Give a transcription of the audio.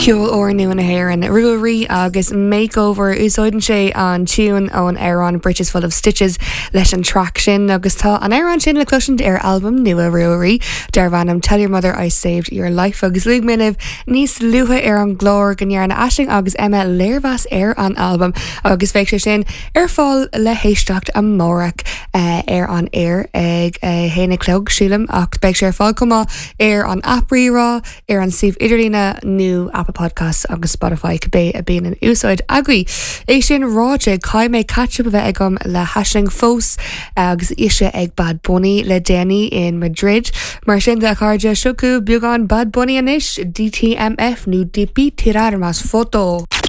Ceol úrnua na hÉireann, Ruaidhrí agus Makeover. Úsáideann sé an tiún ón amhrán Britches Full of Stitches leis an traic sin agus tá an amhrán sin le cloisint ar albam nua Ruaidhrí darb ainm Tell Your Mother I Saved Your Life agus luaigh mé libh níos luaithe ar an gclár go ndearna Aisling agus Emma léirmheas ar an albam agus beidh sé sin ar fáil le héisteacht amárach ar an aer ag a haon a chlog, sílim, ach beidh sé ar fáil chomh maith ar an aip Rí-Rá, ar an suíomh idirlíne nó Apple Podcasts agus Spotify, cibé a bíonn in úsáid agaibh. É sin ráite, caithfidh mé catch up a bheith agam le hAisling fós agus ise ag Bad Bunny le déanaí in Madrid. Mar sin de, a chairde, seo chugaibh beagán Bad Bunny anois, DTMF nó Debí Tirar Más Foto.